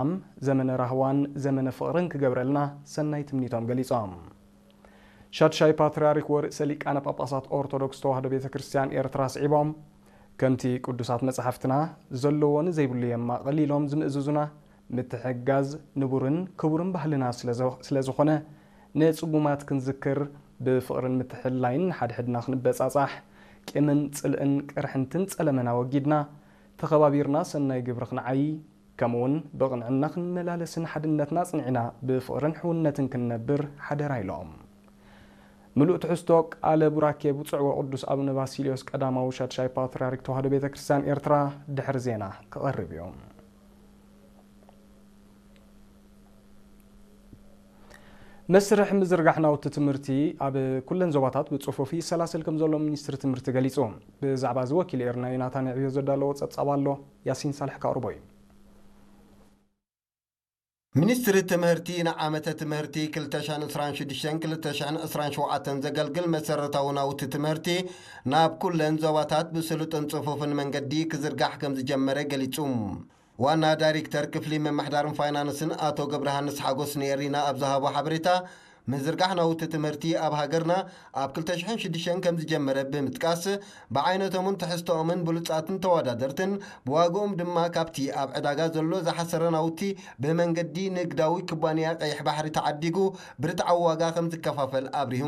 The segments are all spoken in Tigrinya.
ሰላም፣ ዘመነ ራህዋን ዘመነ ፍቕርን ክገብረልና ሰናይ ትምኒቶም ገሊጾም። ሻድሻይ ፓትርያርክ ወርእሰ ሊቃነ ጳጳሳት ኦርቶዶክስ ተዋህዶ ቤተ ክርስቲያን ኤርትራ ስዒቦም፣ ከምቲ ቅዱሳት መጻሕፍትና ዘለዎ ንዘይብሉ የማቕል ኢሎም ዝምእዝዙና፣ ምትሕግጋዝ ንቡርን ክቡርን ባህልና ስለ ዘ-፣ ስለ ዝኾነ፣ ንጽጉማት ክንዝክር፣ ብፍቕርን ምትሕልላይን ንሓድሕድና ክንበጻጻሕ፣ ቂምን ጽልእን ቅርሕንትን ጸለመን ኣወጊድና፣ ተኸባቢርና ሰናይ ግብሪ ክንዓዪ፣ ከምኡውን ብቕንዕና ክንመላለስን ሓድነትና ኣጽኒዕና ብፍቕርን ሕውነትን ክንነብር ሓደራ ኢሎም። ምሉእ ትሕዝቶ ቃለ ቡራኬ ብፁዕ ወቅዱስ ኣቡነ ባሲልዮስ ቀዳማዊ ሻድሻይ ፓትርያርክ ተዋህዶ ቤተ ክርስቲያን ኤርትራ ድሕሪ ዜና ክቐርብ እዩ። መስርሕ ምዝርጋሕ ናውቲ ትምህርቲ ኣብ ኩለን ዞባታት ብጽፉፍ ይሰላሰል ከም ዘሎ ሚኒስትሪ ትምህርቲ ገሊጹ። ብዛዕባ እዚ ወኪል ኤርና ዮናታን ዕብዮ ዘዳለዎ ጸብጻብ ኣሎ። ያሲን ሳልሕ ከቕርቦ እዩ። ሚኒስትሪ ትምህርቲ ንዓመተ ትምህርቲ ክልተ ሽሕን ዕስራን ሽዱሽተን ክልተ ሽሕን ዕስራን ሸውዓተን ዘገልግል መሰረታዊ ናውቲ ትምህርቲ ናብ ኩለን ዞባታት ብስሉጥን ጽፉፍን መንገዲ ክዝርጋሕ ከም ዝጀመረ ገሊጹ። ዋና ዳይሬክተር ክፍሊ ምምሕዳርን ፋይናንስን ኣቶ ገብረሃንስ ሓጎስ ንኤሪና ኣብ ዝሃቦ ሓበሬታ፣ ምዝርጋሕ ናውቲ ትምህርቲ ኣብ ሃገርና ኣብ ክልተ ሽሕን ሽዱሽተን ከም ዝጀመረ ብምጥቃስ፣ ብዓይነቶምን ትሕዝቶኦምን ብሉጻትን ተወዳደርትን፣ ብዋግኦም ድማ ካብቲ ኣብ ዕዳጋ ዘሎ ዝሓሰረ ናውቲ ብመንገዲ ንግዳዊ ኩባንያ ቀይሕ ባሕሪ ተዓዲጉ ብርትዓዊ ዋጋ ከም ዝከፋፈል ኣብሪሁ።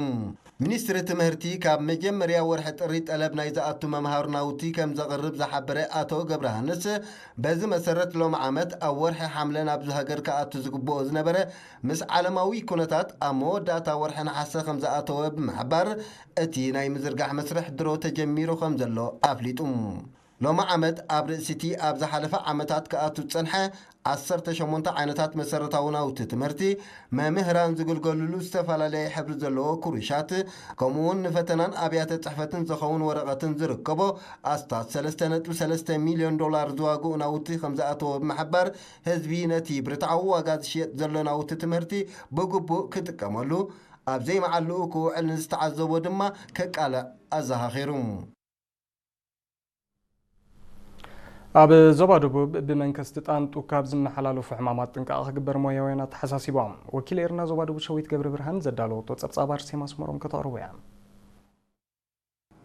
ሚኒስትሪ ትምህርቲ ካብ መጀመርያ ወርሒ ጥሪ ጠለብ ናይ ዝኣቱ መምሃሪ ናውቲ ከም ዘቕርብ ዝሓበረ ኣቶ ገብረሃንስ፣ በዚ መሰረት ሎሚ ዓመት ኣብ ወርሒ ሓምለ ናብዚ ሃገር ክኣቱ ዝግብኦ ዝነበረ ምስ ዓለማዊ ኩነታት ኣብ መወዳእታ ወርሒ ነሓሰ ከም ዝኣተወ ብምሕባር፣ እቲ ናይ ምዝርጋሕ መስርሕ ድሮ ተጀሚሩ ከም ዘሎ ኣፍሊጡ። ሎሚ ዓመት ኣብ ርእሲቲ ኣብ ዝሓለፈ ዓመታት ክኣቱ ዝጸንሐ ዓሰርተ ሸሞንተ ዓይነታት መሰረታዊ ናውቲ ትምህርቲ፣ መምህራን ዝግልገሉሉ ዝተፈላለየ ሕብሪ ዘለዎ ክሩሻት፣ ከምኡውን ንፈተናን ኣብያተ ጽሕፈትን ዝኸውን ወረቐትን ዝርከቦ ኣስታት ሰለስተ ነጥቢ ሰለስተ ሚልዮን ዶላር ዝዋግኡ ናውቲ ከም ዝኣተወ ብምሕባር፣ ህዝቢ ነቲ ብርትዓዊ ዋጋ ዝሽየጥ ዘሎ ናውቲ ትምህርቲ ብግቡእ ክጥቀመሉ፣ ኣብ ዘይመዓልኡ ክውዕል ንዝተዓዘቦ ድማ ከቃልዕ ኣዘኻኺሩ። ኣብ ዞባ ደቡብ ብመንከስቲ ጣንጡ ካብ ዝመሓላለፉ ሕማማት ጥንቃቐ ክግበር ሞያውያን ኣተሓሳሲቦም። ወኪል ኤርና ዞባ ደቡብ ሸዊት ገብረ ብርሃን ዘዳለወቶ ጸብጻብ ኣርሴማ ኣስመሮም ከተቕርቦ እያ።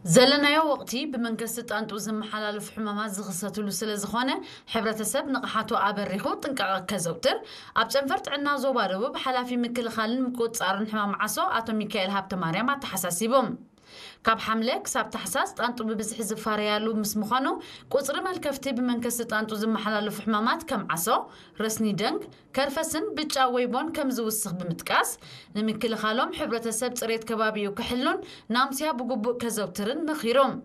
ዘለናዮ ወቕቲ ብመንከስቲ ጣንጡ ዝመሓላለፉ ሕማማት ዝኽሰትሉ ስለ ዝኾነ፣ ሕብረተሰብ ንቕሓቱ ኣበሪኹ ጥንቃቐ ከዘውትር ኣብ ጨንፈር ጥዕና ዞባ ደቡብ ሓላፊ ምክልኻልን ምቁጽጻርን ሕማም ዓሶ ኣቶ ሚካኤል ሃብተማርያም ኣተሓሳሲቦም። ካብ ሓምለ ክሳብ ታሕሳስ ጣንጡ ብብዝሒ ዝፋረያሉ ምስ ምዃኑ፣ ቁጽሪ መልከፍቲ ብመንከስቲ ጣንጡ ዝመሓላለፉ ሕማማት ከም ዓሶ፣ ረስኒ ደንግ፣ ከርፈስን ብጫ ወይቦን ከም ዝውስኽ ብምጥቃስ፣ ንምክልኻሎም ሕብረተሰብ ጽሬት ከባቢኡ ክሕሉን ናምስያ ብግቡእ ከዘውትርን መኺሮም።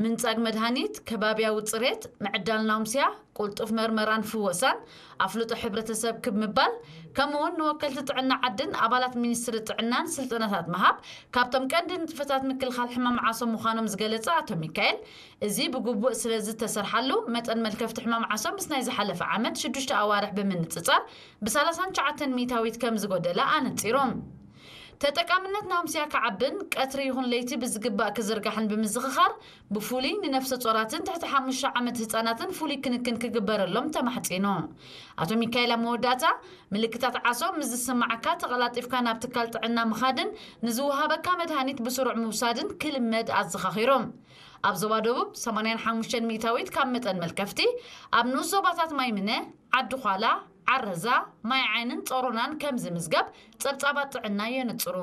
ምንጻግ መድሃኒት፣ ከባብያዊ ጽሬት፣ ምዕዳል ናምስያ፣ ቅልጡፍ መርመራን ፍወሳን፣ ኣፍልጦ ሕብረተሰብ ክብ ምባል፣ ከምኡውን ንወከልቲ ጥዕና ዓድን ኣባላት ሚኒስትሪ ጥዕናን ስልጠናታት ምሃብ ካብቶም ቀንዲ ንጥፈታት ምክልኻል ሕማም ዓሶ ምዃኖም ዝገለጸ ኣቶ ሚካኤል፣ እዚ ብግቡእ ስለ ዝተሰርሓሉ፣ መጠን መልከፍቲ ሕማም ዓሶ ምስ ናይ ዝሓለፈ ዓመት ሽዱሽተ ኣዋርሕ ብምንጽጻር ብሰላሳን ትሽዓተን ሚእታዊት ከም ዝጎደለ ኣነጺሮም። ተጠቃምነት ናምስያ ክዓብን ቀትሪ ይኹን ለይቲ ብዝግባእ ክዝርጋሕን ብምዝኽኻር፣ ብፍሉይ ንነፍሰ ጾራትን ትሕቲ ሓሙሽተ ዓመት ህጻናትን ፍሉይ ክንክን ክግበረሎም ተማሕጺኑ። ኣቶ ሚካኤል ኣብ መወዳእታ፣ ምልክታት ዓሶ ምስ ዝስምዓካ ተቐላጢፍካ ናብ ትካል ጥዕና ምኻድን ንዝወሃበካ መድሃኒት ብስሩዕ ምውሳድን ክልመድ ኣዘኻኺሮም። ኣብ ዞባ ደቡብ ሰማንያን ሓሙሽተን ሚእታዊት ካብ መጠን መልከፍቲ ኣብ ንኡስ ዞባታት ማይምነ፣ ዓዲ ዃላ፣ ዓረዛ፣ ማይ ዓይንን ጾሮናን ከም ዝምዝገብ ጸብጻባት ጥዕና የነጽሩ።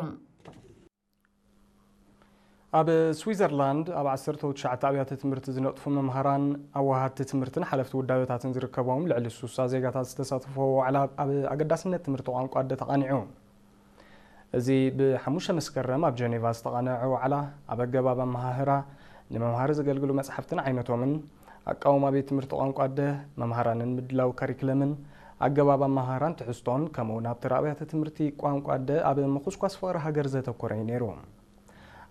ኣብ ስዊዘርላንድ ኣብ ዓሰርተ ትሽዓተ ኣብያተ ትምህርቲ ዝነጥፉ መምሃራን፣ ኣዋሃድቲ ትምህርትን ሓለፍቲ ውዳበታትን ዝርከቦም ልዕሊ ስሳ ዜጋታት ዝተሳተፍዎ ዋዕላ ኣብ ኣገዳስነት ትምህርቲ ቋንቋ ኣደ ተቓኒዑ። እዚ ብሓሙሽተ መስከረም ኣብ ጀኔቫ ዝተቓነዐ ዋዕላ፣ ኣብ ኣገባብ ኣመሃህራ፣ ንመምሃሪ ዘገልግሉ መጻሕፍትን ዓይነቶምን፣ ኣቃውማ ቤት ትምህርቲ ቋንቋ ኣደ፣ መምሃራንን ምድላው ካሪክለምን፣ ኣገባብ ኣመሃህራን ትሕዝቶን፣ ከምኡውን ኣብ ተራ ኣብያተ ትምህርቲ ቋንቋ ኣደ ኣብ ምኹስኳስ ፍቕሪ ሃገር ዘተኮረ እዩ ነይሩ።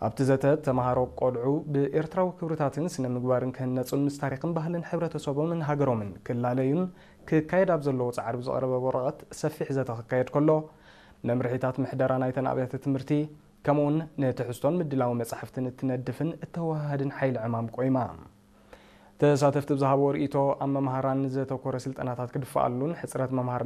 ኣብቲ ዘተ፣ ተመሃሮ ቆልዑ ብኤርትራዊ ክብርታትን ስነ ምግባርን ክህነጹን ምስ ታሪኽን ባህልን ሕብረተሰቦምን ሃገሮምን ክላለዩን ክካየድ ኣብ ዘለዎ ጻዕሪ ብዝቐረበ ወረቐት ሰፊሕ ዘተ ክካየድ ከሎ፣ መምርሒታት ምሕደራ ናይተን ኣብያተ ትምህርቲ፣ ከምኡውን ንትሕዝቶን ምድላው መጻሕፍትን እትነድፍን እተወሃሃድን ሓይሊ ዕማም ቆይማ። ተሳተፍቲ ብዝሃብዎ ርእይቶ፣ ኣብ መምሃራን ዘተኮረ ስልጠናታት ክድፈኣሉን ሕጽረት መምሃር